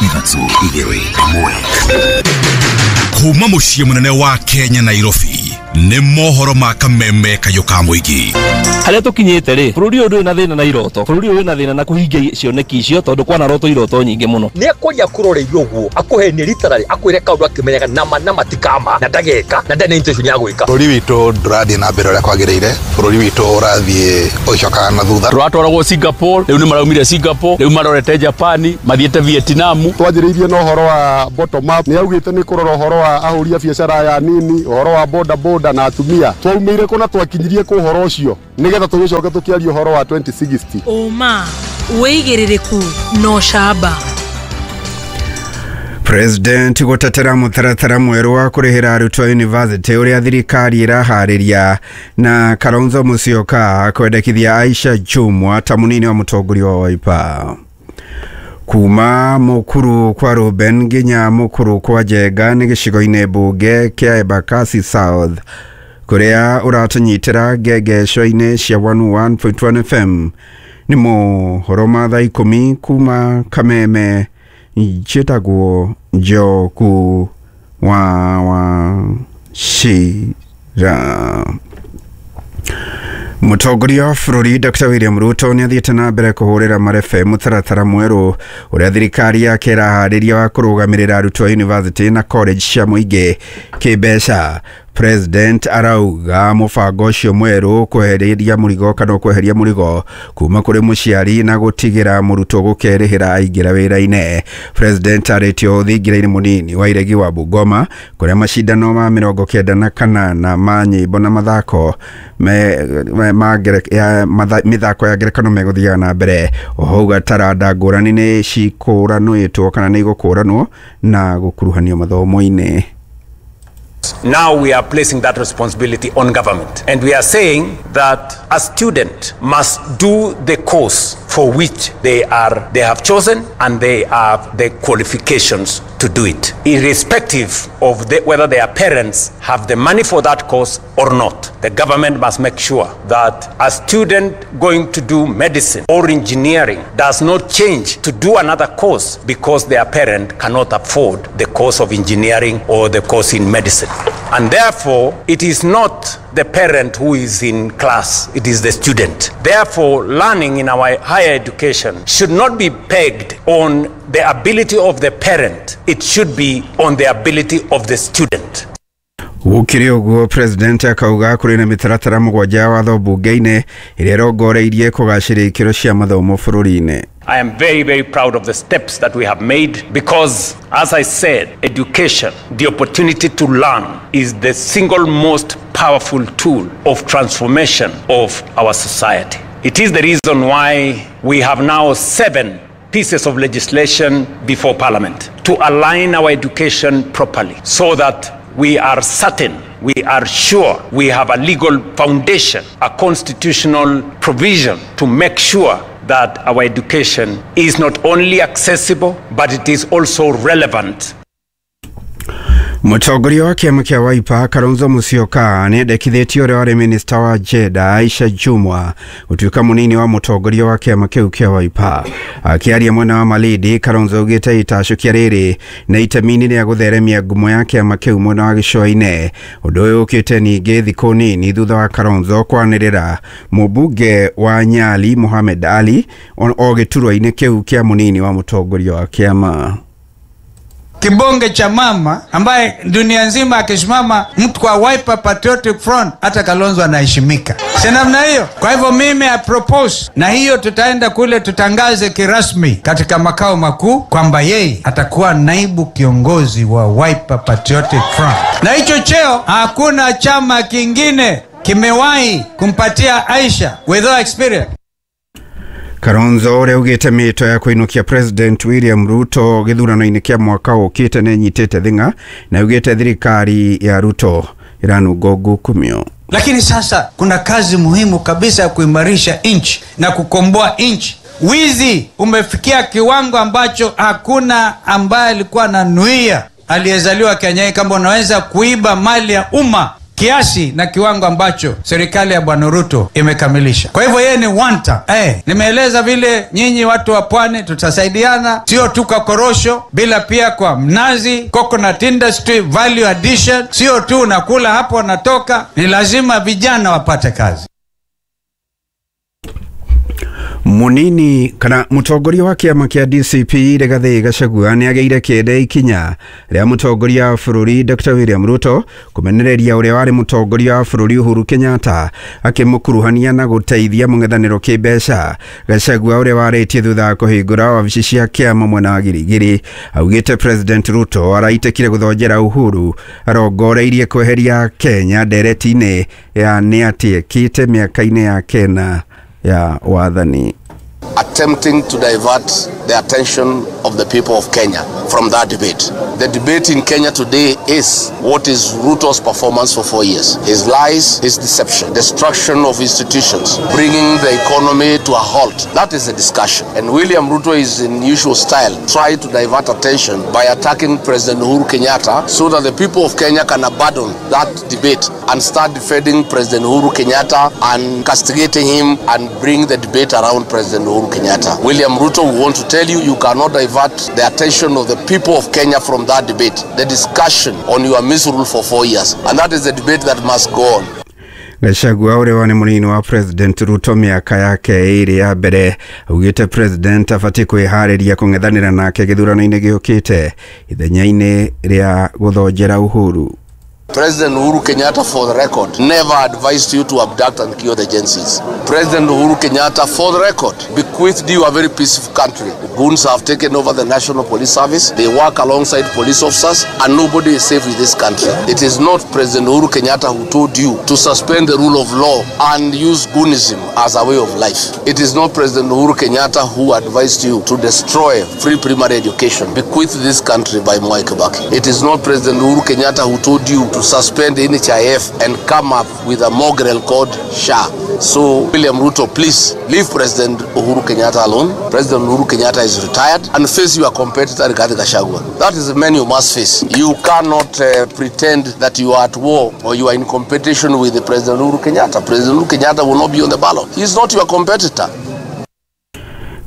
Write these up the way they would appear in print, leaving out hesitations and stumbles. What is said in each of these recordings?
Ithatũ igĩrĩ ĩmwe. Kuma mũciĩ mũnene wa Kenya Nairobi nĩ mohoro ma kameme kayũ ka mũingĩ. Harĩa tũkinyĩte rĩ, bũrũri ũyũ ndũrĩ na thĩna na iroto, bũrũri ũyũ wĩna thĩna na kũhingia cioneki icio tondũ kwanaroto iroto nyingĩ mũno. Nĩ akwaria akũroreirie ũguo akũhenie literally akwĩre kaũndũ akĩmenyaga nama nama ti kama na ndageka na ndarĩ na intention ya gwĩka. Bũrũri witũ ndũrathiĩ na mbere ũrĩa kwagĩrĩire, bũrũri witũ ũrathiĩ ũgĩcokaga na thutha. Tũratwaragwo Singapore, rĩu nĩ maraumire Singapore, rĩu marorete Japan, mathiĩte Vietnam. Twanjĩrĩirie na ũhoro wa bottom up, nĩ augĩte nĩ kũrora ũhoro wa ahũri a biacara aya nini, ũhoro wa boda boda na atumia. Twaumĩire kũ na twakinyirie kũ ũhoro ũcio nĩgetha tũgĩcoke tũkĩaria ũhoro wa 2060. Ũma, wĩigĩrĩrĩku na ũcamba. President gũtetera mũtaratara mwerũ wa kũrĩhĩra arutwo a university ũrĩa thirikari ĩraharĩria na Kalonzo Musyoka kwendekithia Aisha Jumwa ta mũnini wa mũtongoria wa Wiper. Kuma Mukuru kwa Ruben nginya Mukuru kwa Njenga nĩ gĩcigo-inĩ mbunge kĩa Embakasi South kũrĩa ũratũnyitĩra ngengesho-inĩ cia 101.1 FM. Nĩ mohoro ma thaa ikũmi kuma Kameme. Njĩtagwo Njoku wa Wachira. Mũtongoria wa bũrũri Dr. William Ruto nĩ athiĩte na mbere kũhũrĩra marebe mũtaratara mwerũ ũrĩa thirikari yake ĩraharĩria wa kũrũgamĩrĩra arutwo a university na college cia mũingĩ kĩmbeca. President arauga mũbango ũcio mwerũ kweheria mũrigo kana kweheria mũrigo kuma kũrĩ mũciari na gũtigĩra mũrutwo gũkerĩhĩra aingĩra wĩra-inĩ. President arĩtio thingira-inĩ mũnini wa iregi wa Bungoma kũrĩa macindano ma 98 ma nyĩmbo na mathako mĩthako ya ngerekano megũthiaga na mbere. Oho auga taranda ngũrani nĩ cikũranĩtwo kana nĩ igũkũranwo na gũkuruhanio mathomo-inĩ. Now we are placing that responsibility on government, and we are saying that a student must do the course for which they have chosen and they have the qualifications to do it, irrespective of whether their parents have the money for that course or not. The government must make sure that a student going to do medicine or engineering does not change to do another course because their parent cannot afford the course of engineering or the course in medicine. And therefore, it is not the parent who is in class, it is the student. Therefore, learning in our higher education should not be pegged on the ability of the parent, it should be on the ability of the student. Gũkĩrĩ ũguo, President akauga kũrĩ na mĩtaratara mũgwanja ya watho mbunge-inĩ ĩrĩa ĩrongoreirie kũgacĩria ikĩro cia mathomo bũrũri-inĩ. I am very, very proud of the steps that we have made because, as I said, education, the opportunity to learn, is the single most powerful tool of transformation of our society. It is the reason why we have now 7 pieces of legislation before Parliament to align our education properly so that we are certain, we are sure, we have a legal foundation, a constitutional provision to make sure that our education is not only accessible, but it is also relevant. Mũtongoria wa kĩama kĩa Wiper Kalonzo Musyoka nĩendekithĩtie ũrĩa warĩ minista wa Jenda Aisha Jumwa gũtuĩka mũnini wa mũtongoria wa kĩama kĩu kĩa Wiper. Akĩaria mwena wa Malindi, Kalonzo augĩte itacũkia rĩrĩ na itemi-inĩ rĩa gũtheremia ngumo ya kĩama kĩu mwena wa gĩcũa-inĩ. Ũndũ ũyũ ũkĩte ningĩ thikũ nini thutha wa Kalonzo kwanĩrĩra mũmbunge wa Nyali Mohamed Ali o gĩturwa-inĩ kĩu kĩa mũnini wa mũtongoria wa kĩama. Kibonge cha mama ambaye dunia nzima akisimama mtu kwa Wiper Patriotic Front, hata Kalonzo anaheshimika. Si namna hiyo? Kwa hivyo mimi I propose, na hiyo tutaenda kule tutangaze kirasmi katika makao makuu kwamba yeye atakuwa naibu kiongozi wa Wiper Patriotic Front. Na hicho cheo hakuna chama kingine kimewahi kumpatia Aisha with experience. Kalonzo ũrĩa augĩte mĩĩto ya kũinũkia President William Ruto gĩthurano-inĩ kĩa mwaka ũkĩte nĩ ĩnyitĩte thing'a na augĩte thirikari ya Ruto ĩranunga ngukumio. Lakini sasa kuna kazi muhimu kabisa ya kuimarisha nchi na kukomboa nchi. Wizi umefikia kiwango ambacho hakuna ambaye alikuwa ananuia aliyezaliwa Kenya kama unaweza kuiba mali ya umma kiasi na kiwango ambacho serikali ya Bwana Ruto imekamilisha. Kwa hivyo yeye ni one term. Nimeeleza vile nyinyi watu wa pwani tutasaidiana, sio tu kwa korosho, bila pia kwa mnazi, coconut industry, value addition, sio tu nakula hapo natoka, ni lazima vijana wapate kazi. Munini kana mutongoria wa kiama kia DCP Rigathi Gachagua nĩ agĩire kĩende ikinya rĩa mũtongoria wa bũrũri Dr. William Ruto kũmenereria ũrĩa warĩ mũtongoria wa bũrũri Uhuru Kenyatta akĩmũkuruhania na gũteithia mũng'ethanĩro kĩmbeca. Gachagua ũrĩa warĩtie thutha wa kũhingũra wabici cia kĩama mwena wa Girigiri augĩte President Ruto araitĩkire gũthonjera Uhuru arongoreirie kweheria Kenya ndereti-inĩ ya nĩ atĩ ekĩte mĩaka-inĩ ya kena ya wathani. Attempting to divert the attention of the people of Kenya from that debate. The debate in Kenya today is what is Ruto's performance for 4 years? His lies, his deception, destruction of institutions, bringing the economy to a halt. That is the discussion. And William Ruto is in usual style, trying to divert attention by attacking President Uhuru Kenyatta so that the people of Kenya can abandon that debate and start defending President Uhuru Kenyatta and castigating him and bring the debate around President Uhuru Kenyatta. William Ruto, we want to tell you, you cannot divert the attention of the people of Kenya from that debate, the discussion on your misrule for 4 years. And that is the debate that must go on. Gachagua ũrĩa warĩ mũnini wa President Ruto mĩaka yake ĩrĩ ya mbere augĩte President abatiĩ kwĩharĩria kũng'ethanĩra nake gĩthurano-inĩ gĩũkĩte ithenya-inĩ rĩa gũthonjera Uhuru. President Uhuru Kenyatta, for the record, never advised you to abduct and kill the Gen Zs. President Uhuru Kenyatta, for the record, bequeathed you a very peaceful country. Goons have taken over the National Police Service. They work alongside police officers, and nobody is safe in this country. It is not President Uhuru Kenyatta who told you to suspend the rule of law and use goonism as a way of life. It is not President Uhuru Kenyatta who advised you to destroy free primary education bequeathed this country by Mwai Kibaki. It is not President Uhuru Kenyatta who told you to suspend NHIF and come up with a mongrel called SHA. So, William Ruto, please leave President Uhuru Kenyatta alone. President Uhuru Kenyatta is retired, and face your competitor Rigathi Gachagua. That is the man you must face. You cannot pretend that you are at war or you are in competition with the President Uhuru Kenyatta. President Uhuru Kenyatta will not be on the ballot. He is not your competitor.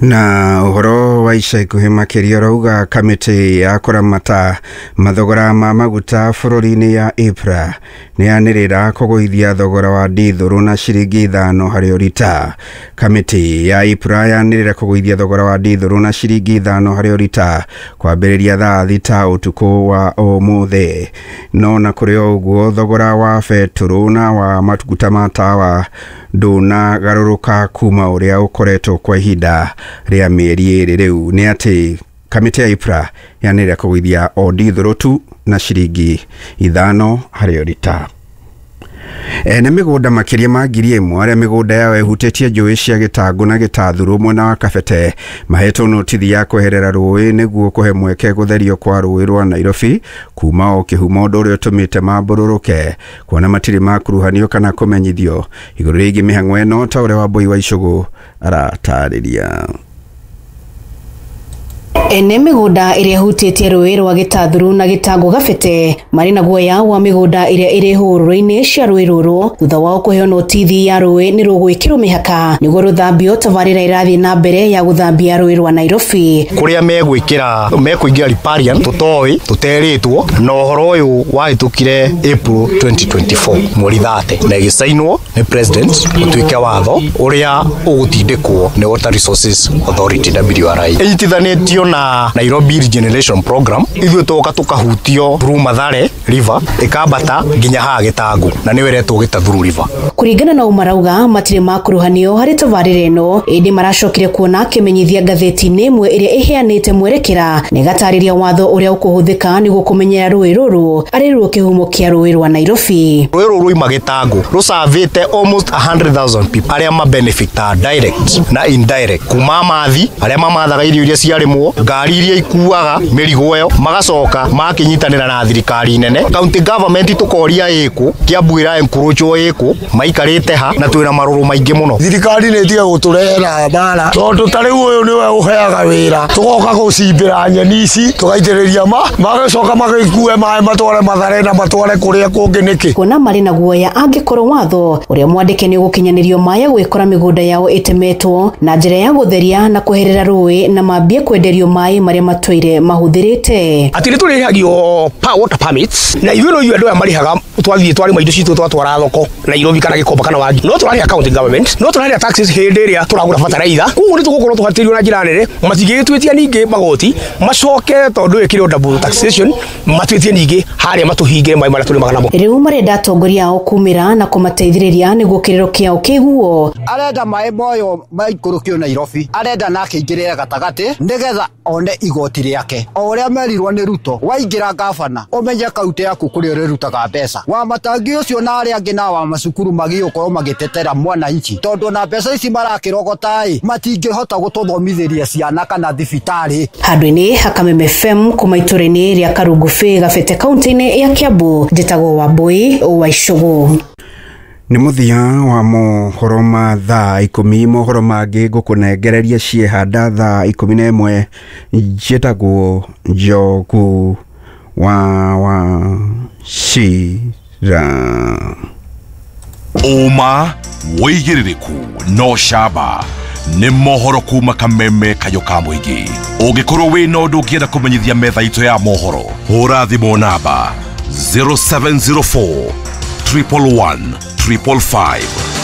Na ũhoro wa ica ikuhĩ makĩria ũrauga kamĩtĩ ya kũramata mathogora ma maguta bũrũri-inĩ ya EPRA nĩ yanĩrĩra kũgũithia thogora wa ndithũrũ na ciringi 5 harĩ o rita. Kamĩtĩ ya EPRA yanĩrĩra kũgũithia thogora wa ndithũrũ na ciringi 5 harĩ o rita kwambĩrĩria thaa 6 ũtukũ wa ũmũthĩ. No na kũrĩ o ũguo thogora wa betũrũ na wa maguta ma tawa ndũnagarũrũka kuma ũrĩa ũkoretwo kwa ihinda rĩa mĩeri ĩrĩ rĩu. Nĩ atĩ kamĩtĩ ya EPRA yanĩrĩra kũgũithia o ndithũrũ tu na ciringi 5 harĩ o rita. Ene mĩgũnda makĩria ma 1,000 arĩa mĩgũnda yao ĩhutĩtie njũĩ cia Gĩtangũ na Gĩtathurũ mwena wa Kabete mahetwo notithi ya kweherera rũĩ nĩguo kũhe mweke gũtherio kwa rũĩ rwa Nairobi kuma o kĩhumo, ũndũ ũrĩa ũtũmĩte mambũrũrũke kuona matirĩ makuruhanio kana kũmenyithio igũrũ rĩgiĩ mĩhang'o ĩno, ta ũrĩa Wambui wa Icũgũ aratarĩria. Ene mĩgũnda ĩrĩa ĩhutĩtie rũĩ rwa Gĩtathurũ na Gĩtangũ Gabete marĩ na guoya wa mĩgũnda ĩrĩa ĩrĩ hũrũrũ-inĩ cia rũĩ rũrũ thutha wao kũheo notithi ya rũĩ nĩ rũgwĩkĩrwo mĩhaka nĩguo rũthambio tabarĩra ĩrathiĩ na mbere ya gũthambia rũĩ rwa Nairobi. Kũrĩa megwĩkĩra mekũingĩra riparian tũtoĩ tũterĩtwo, na ũhoro ũyũ wahĩtũkire April 2024 mweri 30 na ĩgĩcainwo nĩ president ũtuĩke watho ũrĩa ũgũtindĩkwo nĩ Water Resources Authority WRA. Ĩnyitithanĩtio na Nairobi Regeneration Program. Ithuĩ tũka tũkahutio through Mathare River ĩkambata nginya haha Gĩtangũ na nĩyo ĩretwo Gĩtathurũ River. Kũringana na ũmarauga matirĩ makuruhanio harĩ tabarĩra ĩno, ĩndĩ maracokire kuona kĩmenyithia ngathĩti-inĩ ĩmwe ĩrĩa ĩheanĩte mwerekera na ĩgatarĩria watho ũrĩa ũkũhũthĩka nĩguo kũmenyera rũĩ rũrũ arĩ ruo kĩhumo kĩa rũĩ rwa Nairobi. Rũĩ rũrũ ruima Gĩtangũ rũcavĩte almost 100,000 people arĩa mabenefita direct na indirect kuma mathi arĩa mamathaga irio iria ciarĩmwo Ngari iria ikuaga mĩrigo ĩyo magacoka makĩnyitanĩra na thirikari nene. County government tũkoria ĩkũ, Kiambu ĩra encroachwo ĩkũ, maikarĩte ha na twĩna marũrũ maingĩ mũno. Thirikari nĩ ĩtige gũtũrehera mbara tondũ ta rĩu ũyũ nĩwe ũheaga wĩra, tũgoka gũcimbĩra nyeni ici tũgaitĩrĩria ma magacoka magĩkue maĩ matware Mathare na matware kũrĩa kũngĩ nĩkĩ. Kuona marĩ na guoya angĩkorwo watho ũrĩa mwandĩke nĩ ũgũkinyanĩrio maya gwĩkora mĩgũnda yao ĩtemetwo na njĩra ya gũtheria na kweherera rũĩ na mambie kwenderio maĩ marĩa matũire mahũthĩrĩte. Atĩ nĩ tũrĩhagio water permits na ithuĩ no ithuĩ andũ aya marĩhaga, twathiĩ twarĩma indo citũ twatwara thoko Nairobi kana Gikomba kana Wangi, no tũrarĩha county government, no tũrarĩha taxes hĩndĩ ĩrĩa tũragũra bataraitha. Koguo nĩ tũgũkorwo tũhatĩrĩirio na njĩra nene, matingĩgĩtwĩtia ningĩ magoti macoke tondũ ĩkĩrĩ double taxation matwĩtie ningĩ harĩa matũhingĩre maĩ marĩa tũrĩmaga namo. Rĩu marenda atongoria ao kumĩra na kũmateithĩrĩria nĩguo kĩrĩro kĩao kĩiguo. Arenda maĩ moyo maikũrũkio Nairobi, arenda nake aingĩrĩre gatagatĩ nĩgetha one igoti rĩake. O ũrĩa merirwo nĩ Ruto, waingĩra gavana ũmenye kaunti yaku kũrĩa ũrĩrutaga mbeca. Wa matangi ũcio na arĩa angĩ na wa macukuru magĩũkorwo magĩtetera mwananchi, tondũ na mbeca ici marakĩrogota-ĩ matingĩhota gũtũthomithĩria ciana kana thibitarĩ. Handũ-inĩ ha Kameme FM kuma itũra-inĩ rĩa Karungubĩ Gabete kaunti-inĩ ya Kiambu, njĩtagwo Wambui wa Icũgũ. Nĩ mũthia wa mohoro ma thaa 10, mohoro mangĩ ngũkũnengereria ciehanda thaa 11. Njĩtagwo Njogu wa Wachira. Ũma wĩigĩrĩrĩku no camba nĩ mohoro kuma Kameme kayũ ka mũingĩ. Ũngĩkorwo wĩna ũndũ ũngĩenda kũmenyithia metha itũ ya mohoro, hũra thimũ namba 0704 111 555.